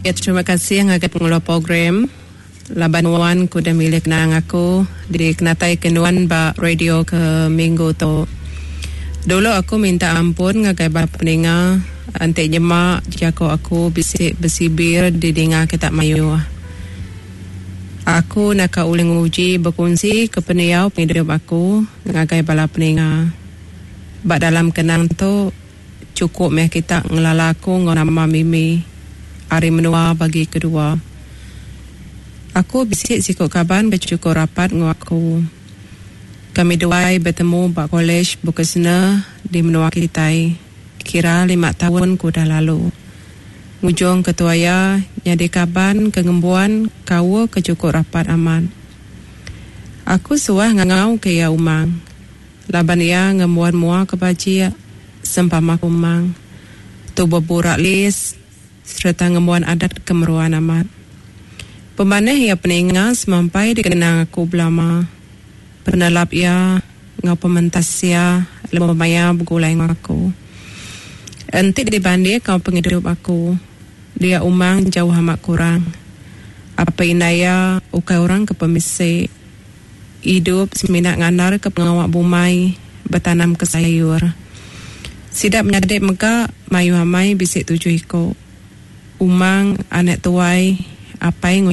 Ya terima kasih ngagai pengeluar program laban nuan ke udah milih kenang aku dikenatai ke nuan ba radio ke minggu tu. Dulu aku minta ampun ngagai bala peninga enti nyema jaku aku bisi besibir didinga kita mayuh. Aku naka ulih nguji bekunsi ke pendiau pengidup aku ngagai bala peninga. Ba dalam kenang tu chukup meh kita ngelala aku enggau nama Mimi ari menua bagi kedua. Aku bisi siku kaban ke chukup rapat enggau aku. Kami duai betemu ba Kolej Vokasional di menua kitai kira lima taun ke udah lalu. Ngujung ketua iya nyadi kaban ke ngembuan kaul ke chukup rapat amat. Aku suah ngangau ke iya Umang laban iya ngembuan mua ke bajik sempama Umang. Tubuh burak lis sereta ngembuan adat ke meruan amat. Pemanah iya peninga semampai dikenang aku belama. Penelap iya enggau pementas iya lebuh maya begulai enggau aku. Enti dibanding enggau pengidup aku, dia umang jauh amat kurang. Apai indai iya ukai orang ke pemisi. Idup semina ngandarka pengawa bumai betanamka sayur. Sida menyadi mega mayuh amai bisi tujuh iku. Umang anak tuai apai enggau.